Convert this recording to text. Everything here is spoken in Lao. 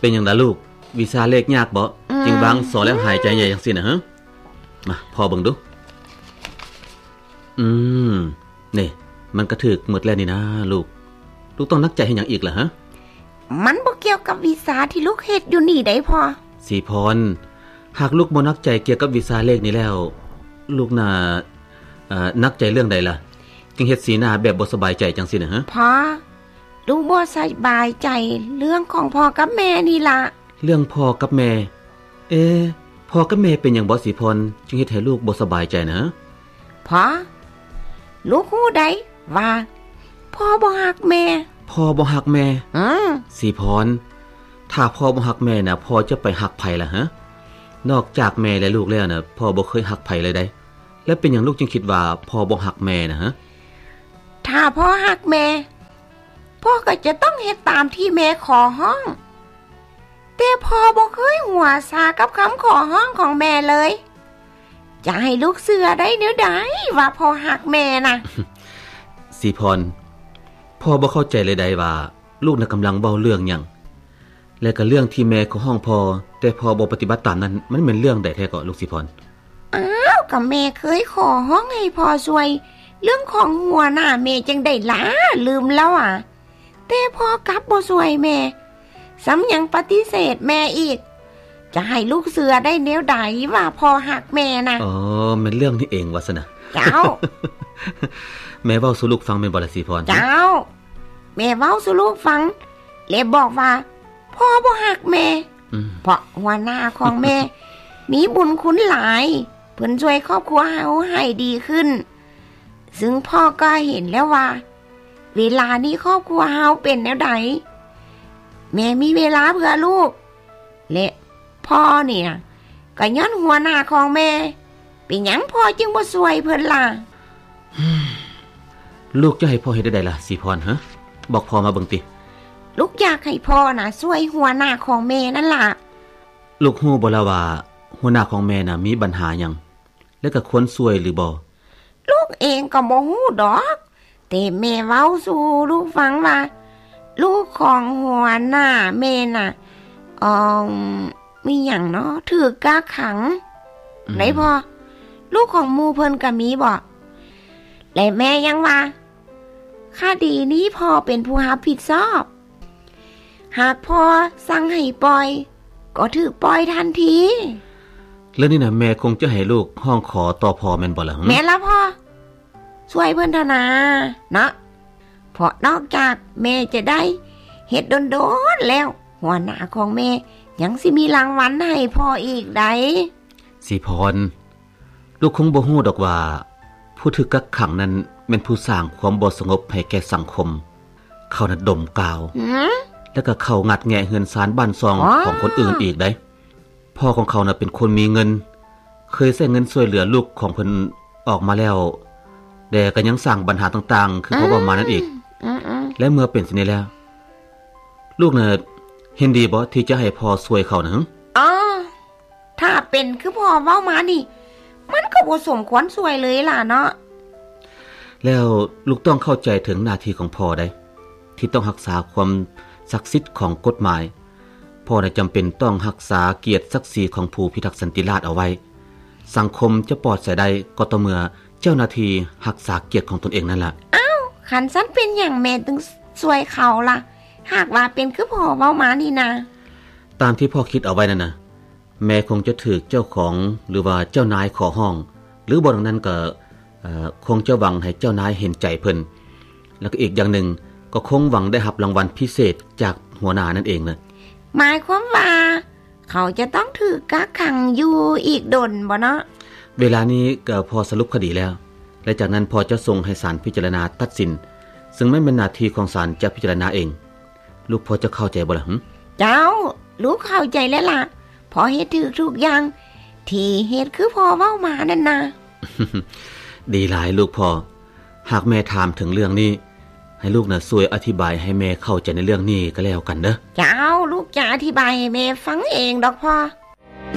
ປັນຫຍັງລະລູກ? ວິຊາເລກຍາກບໍ? ອືມ ຈຶ່ງວາງສໍແລ້ວຫາຍໃຈໃຫຍ່ຈັ່ງຊີ້ນະ? ຮະ ມາ ພໍ່ເບິ່ງດູ. ອືມ ນີ້ ມັນກະຖືກໝົດແລ້ວນີ້ນາລູກ. ລູກຕ້ອງໜັກໃຈເຮັດຫຍັງອີກລະ? ຮະ ມັນບໍ່ກ່ຽວກັບວິຊາທີ່ລູກເຮັດຢູ່ນີ້ໃດ໋ພໍ່. ສີພອນ, ຫາກລູກບໍ່ໜັກໃຈກ່ຽວກັບວິຊາເລກນີ້ແລ້ວ, ລູກໜ້າ ເອີ ໜັກໃຈເລື່ອງໃດລະ? ຈຶ່ງເຮັດສີໜ້າແບບບໍ່ສະບາຍໃຈຈັ່ງຊີ້ນະ? ຮະ ພໍ່, ລູກບໍ່ສະບາຍໃຈເລື່ອງຂອງພໍ່ກັບແມ່ນີ້ລະ. ເລື່ອງພໍ່ກັບແມ່? ເອ ພໍ່ກັບແມ່ເປັນຫຍັງບໍສີພອນ ຈຶ່ງເຮັດໃຫ້ລູກບໍ່ສະບາຍໃຈນະ? ພໍ່, ລູກຮູ້ໃດ໋ວ່າພໍ່ບໍ່ຮັກແມ່. ພໍ່ບໍ່ຮັກແມ່? ອືມ. ສີພອນ, ຖ້າພໍ່ບໍ່ຮັກແມ່ນະ, ພໍ່ຈະໄປຮັກໃຜລະ? ຮະ ນອກຈາກແມ່ ແລະ ລູກແລ້ວນະ, ພໍ່ບໍ່ເຄີຍຮັກໃຜເລີຍໃດ໋. ແລະ ເປັນຫຍັງລູກຈຶ່ງຄິດວ່າພໍ່ບໍ່ຮັກແມ່ນະ? ຮະ ຖ້າພໍ່ຮັກແມ່, ພໍ່ກໍຈະຕ້ອງເຮັດຕາມທີ່ແມ່ຂໍຮ້ອງ. ແຕ່ພໍ່ບໍ່ເຄີຍຫົວຊາກັບຄຳຂໍຮ້ອງຂອງແມ່ເລີຍ. ຈະໃຫ້ລູກເຊື່ອໄດ້ແນວໃດວ່າພໍ່ຮັກແມ່ນະ? ສີພອນ, ພໍ່ບໍ່ເຂົ້າໃຈເລີຍໃດ໋ວ່າລູກນະກຳລັງເວົ້າເລື່ອງຫຍັງ? ແລະ ກະເລື່ອງທີ່ແມ່ຂໍຮ້ອງພໍ່, ແຕ່ພໍ່ບໍ່ປະຕິບັດຕາມນັ້ນ, ມັນແມ່ນເລື່ອງໃດແທ້ເກາະລູກສີພອນ? ອ້າວ, ກະແມ່ເຄີຍຂໍຮ້ອງໃຫ້ພໍ່ຊ່ວຍເລື່ອງຂອງຫົວໜ້າແມ່ຈັ່ງໃດລະ, ລືມແລ້ວຫວາ? ແຕ່ພໍ່ກັບບໍ່ຊ່ວຍແມ່, ຊ້ຳຍັງປະຕິເສດແມ່ອີກ. ຈະໃຫ້ລູກເຊື່ອໄດ້ແນວໃດວ່າພໍ່ຮັກແມ່ນະ? ອໍ, ແມ່ນເລື່ອງນີ້ເອງວ່າຊັ້ນນະ? ເຈົ້າ. ແມ່ເວົ້າສູ່ລູກຟັງແມ່ນບໍ່ລະສີພອນ? ເຈົ້າ. ແມ່ເວົ້າສູ່ລູກຟັງ ແລະ ບອກວ່າພໍ່ບໍ່ຮັກແມ່. ອືມ. ເພາະຫົວໜ້າຂອງແມ່ມີບຸນຄຸນຫຼາຍ, ເພິ່ນຊ່ວຍຄອບຄົວເຮົາໃຫ້ດີຂຶ້ນ. ຊຶ່ງພໍ່ກໍເຫັນແລ້ວວ່າ ເວລານີ້ຄອບຄົວເຮົາເປັນແນວໃດ. ແມ່ມີເວລາເພື່ອລູກ ແລະ ພໍ່ນີ້ນະ ກໍຍ້ອນຫົວໜ້າຂອງແມ່. ເປັນຫຍັງພໍ່ຈຶ່ງບໍ່ຊ່ວຍເພິ່ນລະ? ລູກຈະໃຫ້ພໍ່ເຮັດແນວໃດລະສີພອນ? ຮະ ບອກພໍ່ມາເບິ່ງຕິ. ລູກຢາກໃຫ້ພໍ່ນະຊ່ວຍຫົວໜ້າຂອງແມ່ນັ້ນລະ. ລູກຮູ້ບໍ່ລະວ່າຫົວໜ້າຂອງແມ່ນະມີບັນຫາຫຍັງ ແລະ ກໍຄວນຊ່ວຍຫຼືບໍ່? ລູກເອງກໍບໍ່ຮູ້ດອກ, ແຕ່ແມ່ເວົ້າສູ່ລູກຟັງວ່າ ລູກຂອງຫົວໜ້າແມ່ນະ ເອີ ມີຫຍັງເນາະ ຖືກກັກຂັງ. ອືມ. ໄດ້ພໍ່, ລູກຂອງໝູ່ເພິ່ນກໍມີບໍ? ແລະ ແມ່ຍັງວ່າ ຄະດີນີ້ພໍ່ເປັນຜູ້ຮັບຜິດຊອບ. ຫາກພໍ່ສັ່ງໃຫ້ປ່ອຍ ກໍຖືກປ່ອຍທັນທີ. ເລື່ອງນີ້ນະ ແມ່ຄົງຈະໃຫ້ລູກຮ້ອງຂໍຕໍ່ພໍ່ແມ່ນບໍ່ລະ? ແມ່ນລະພໍ່, ຊ່ວຍເພິ່ນເຖາະນາເນາະ. ເພາະນອກຈາກແມ່ຈະໄດ້ເຮັດດົນໆແລ້ວ, ຫົວໜ້າຂອງແມ່ຍັງຊິມີລາງວັນໃຫ້ພໍ່ອີກໃດ໋. ສີພອນ, ລູກຄົງບໍ່ຮູ້ດອກວ່າ ຜູ້ຖືກກັກຂັງນັ້ນແມ່ນຜູ້ສ້າງຄວາມບໍ່ສະຫງົບໃຫ້ແກ່ສັງຄົມ. ເຂົານັ້ນດົມກາວ ຫືມ? ແລ້ວກໍເຂົ້າງັດແງະເຮືອນຊານບ້ານຊ່ອງ ອໍ ຂອງຄົນອື່ນອີກໃດ໋. ພໍ່ຂອງເຂົານະເປັນຄົນມີເງິນ, ເຄີຍໃຊ້ເງິນຊ່ວຍເຫຼືອລູກຂອງເພິ່ນອອກມາແລ້ວ, ແຕ່ກໍຍັງສ້າງບັນຫາຕ່າງໆ ຄືພໍ່ເວົ້າມານັ້ນອີກ. ອືມ ອືມ ອືມ. ແລະ ເມື່ອເປັນເຊັ່ນນີ້ແລ້ວ, ລູກນະເຫັນດີບໍ່ທີ່ຈະໃຫ້ພໍ່ຊ່ວຍເຂົານະ? ອໍ ຖ້າເປັນຄືພໍ່ເວົ້າມານີ້ ມັນກໍບໍ່ສົມຄວນຊ່ວຍເລີຍລະເນາະ. ແລ້ວລູກຕ້ອງເຂົ້າໃຈເຖິງໜ້າທີ່ຂອງພໍ່ໃດ໋ ທີ່ຕ້ອງຮັກສາຄວາມສັກສິດຂອງກົດໝາຍ. ພໍ່ນະຈຳເປັນຕ້ອງຮັກສາກຽດສັກສີຂອງຜູ້ພິທັກສັນຕິລາດເອົາໄວ້. ສັງຄົມຈະປອດໃສໄດ້ກໍຕໍ່ເມື່ອເຈົ້າໜ້າທີ່ຮັກສາກຽດຂອງຕົນເອງນັ້ນລະ. ອ້າວ ຄັນຊັ້ນເປັນຫຍັງແມ່ຈຶ່ງຊ່ວຍເຂົາລະ ຫາກວ່າເປັນຄືພໍ່ເວົ້າມານີ້ນະ? ຕາມທີ່ພໍ່ຄິດເອົາໄວ້ນັ້ນນະ ແມ່ຄົງຈະຖືກເຈົ້າຂອງ ຫຼືວ່າເຈົ້ານາຍຂໍຮ້ອງ ຫຼືບໍ່ດັ່ງນັ້ນກໍ ເອີ ຄົງຈະຫວັງໃຫ້ເຈົ້ານາຍເຫັນໃຈເພິ່ນ. ແລ້ວກໍອີກຢ່າງໜຶ່ງ ກໍຄົງຫວັງໄດ້ຮັບລາງວັນພິເສດຈາກຫົວໜ້ານັ້ນເອງນະ. ໝາຍຄວາມວ່າເຂົາຈະຕ້ອງຖືກກັກຂັງຢູ່ອີກດົນບໍ່ເນາະ? ເວລານີ້ກໍພໍສະຫຼຸບຄະດີແລ້ວ ແລະ ຈາກນັ້ນພໍ່ຈະສົ່ງໃຫ້ສານພິຈາລະນາຕັດສິນ, ຊຶ່ງມັນແມ່ນໜ້າທີ່ຂອງສານຈະພິຈາລະນາເອງ. ລູກພໍຈະເຂົ້າໃຈບໍ່ລະ? ຫື? ເຈົ້າ, ລູກເຂົ້າໃຈແລ້ວລະ. ພໍ່ເຮັດຖືກທຸກຢ່າງທີ່ເຮັດຄືພໍ່ເວົ້າມານັ້ນນະ. ດີຫຼາຍລູກພໍ່. ຫາກແມ່ຖາມເຖິງເລື່ອງນີ້, ໃຫ້ລູກນະຊ່ວຍອະທິບາຍໃຫ້ແມ່ເຂົ້າໃຈໃນເລື່ອງນີ້ກໍແລ້ວກັນເດີ. ເຈົ້າ, ລູກຈະອະທິບາຍໃຫ້ແມ່ຟັງເອງດອກພໍ່.